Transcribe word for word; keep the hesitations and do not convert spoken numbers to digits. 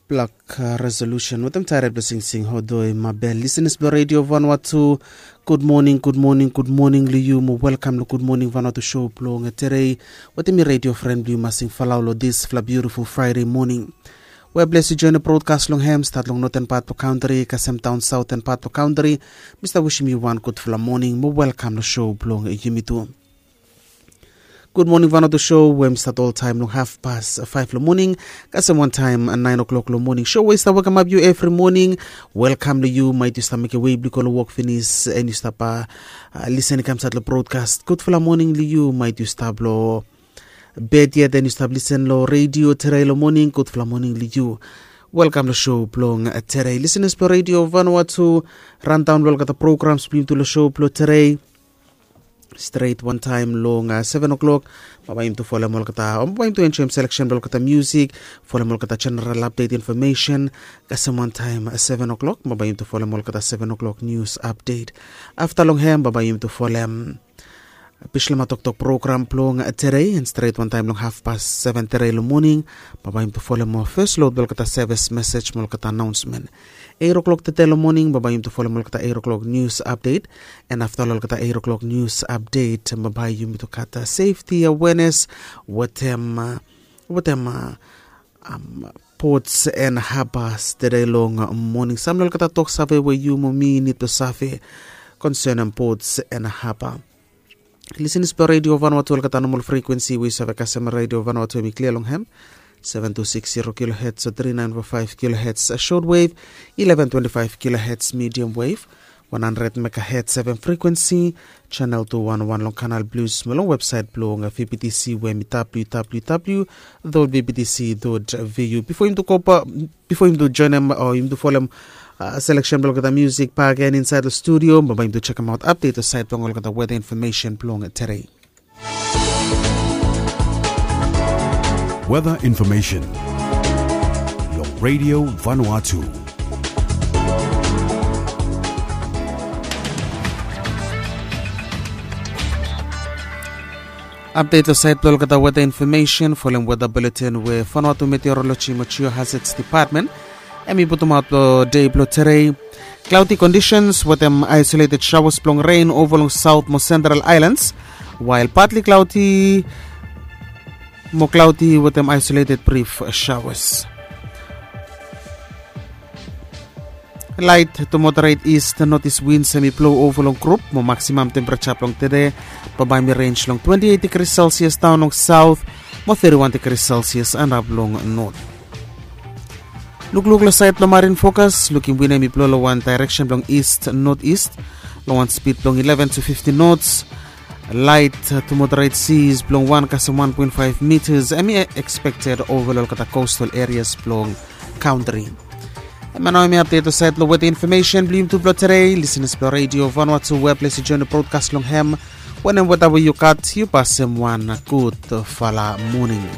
Blak resolution wetem taered blong singsing hodoi mabel. Lisenas blong redio vanua tu, gud moning, gud moning, gud moning long yu mo welkam long gud moning vanua tu show blong terei. Wetem mi redio fren blong yu masing falau long disfala biutiful fraide moning. We bles yu join brodkas long hem stat long noten pat blong kantri kasem daon saoten pat blong kantri. Mi stap wisim yu wan gudfala moning mo welkam long show blong yumi tu. Gud moning vanua tu show we mi stat oltaem long hafpas faef long moning kasem wantaem naen o'klok long moning show we i stap wekemap yu evri moning. Welkam long yu maet yu stap mekem wei blong yu go long wok finis en yu stap lisen i kam stat long brodkas gudfala moning long yu maet yu stap long bed yet en yu stap lisen long redio terei long moning gudfala moning long yu. Welkam long show blong terei lisenas blong redio vanua tu. Randaon blong olgeta programs blong yumi tu long show blong terei stret wantaem long seven o'clock. Bambae yumi tu folem olgeta o bambae yumi tu enjoem seleksen blong olgeta musik, folem olgeta jeneral apdet infomesen. Kasem wantaem seven o'clock bambae yumi tu folem olgeta seven o'clock nius apdet. Afta long hem bambae yumi tu folem bislama toktok program blong terei en stret wantaem long hafpas seven terei long moning. Bambae yumi tu folem ol fes lod blong olgeta sevis mesej mo olgeta anaonsmen. Eiro klok tete long moning bambae yumi tu folem olgeta eiro klok nius apdet. En afta long olgeta eiro klok nius apdet bambae yumi tu gat sefti awenes wetem wetem pots en habas tede long moning sam long olgeta tok save we yu mo mi nid blong save konsenem pots en haba. Lisenis blong redio vanua tu olgeta nomol frekuensi we yu save kasem redio vanua tu em i klia long hem. Seven two six zero kilohertz o three nine four five kilohertz short wave, eleven twenty five kilohertz medium wave, one hundred megahertz seven frekuensi, channel two one one long kanal blues mo long website blong vbtc we em i www dot vbtc dot vu. Bifo yum tu kopa bifo yum tu joinem o yum tu folem seleksen blong olgeta musik bagen insaed long studio bambae yum tu jekemaot apdet o saed blong olgeta weta infomesen blong terei. Weta infomesen long redio vanua tu. Apdet o saed blong olgeta weta infomesen folem weta buletin we vanua tu meteoroloji mo jiohazets depatmen em i putumaot long dei blong terei. Klaudi kondisens wetem aisoleted saoas blong ren ova long saot mo sentral aelans, wael patli klaudi mo klaudi wetem aisoleted brif saoas. Lait tu moderet ist notis wins em i blou ova long grup mo maksimam tempereja blong tede bambae mi renj long twenti eit digri selsias daon long saot mo teti wan digri selsias anap long not. Lukluk long saed blong marin fokas lukim win em i blou long wan daereksen blong ist notist long wan spid blong eleven tu fifti nots. Lait tu moderet sis blong wan kasem wan poen faef mitas em i ekspekted ova long olgeta kostal erias blong kantri. Em ya nao em i apdet long saed blong weta infomesen blong yum tu blong terei lisenas blong redio vanua tu we ples i joen long brodkas long hem. Wanem weta we yu gat yu pasem wan gudfala moning.